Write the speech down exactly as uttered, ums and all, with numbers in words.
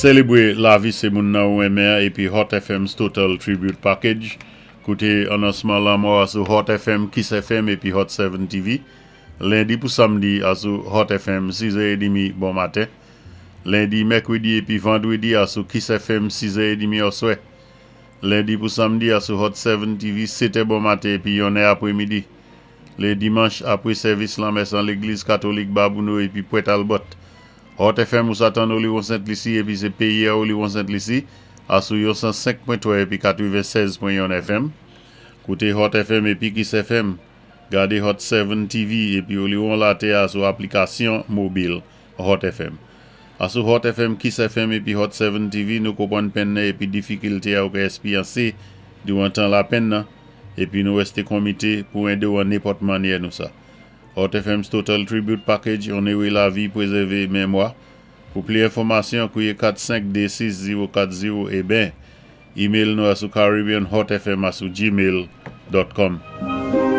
Sélébwé lavi sé moun nan ou renmen épi Hot F M's Total Tribute Package. Kouté anonsman lanmò a sou Hot F M, Kiss F M épi Hot sept T V. Lendi pou samdi a sou Hot F M sis è edmi bon maten. Lendi, mèkwédi épi vandwédi a sou Kiss F M sis è edmi oswè. Lendi pou samdi a sou Hot sept T V sèt è bon maten épi yon è apwémidi. Lé dimanch apwé sèvis lanmès an légliz katolik Babonneau épi Port Talbot. Hot F M ou sa tann Oléron Sent Lisi épi sé péyi a Oléron Sent Lisi a sou yon san senk pwen twa épi katwennsèz pwen yon F M. Kouté Hot F M épi Kiss F M. Gadé Hot sept T V épi Oléron Latè a sou aplikasyon mobil Hot F M. A sou Hot F M, Kiss F M épi Hot sept T V, nou konpwann penn nan épi difikilté a ou ka èspéryansé diwan tan lapenn nan épi nou wèsté konmité pou édé ou an nenpòt mannyè nou sa. Hot F M's Total Tribute Package, onoré lavi, pwézèvé mémwa. Pou pli enfòmasyon, kouwé kat senk dé sis zewo kat zewo é ben, email nou a sou caribbeanhotfm a sou gmail dot com.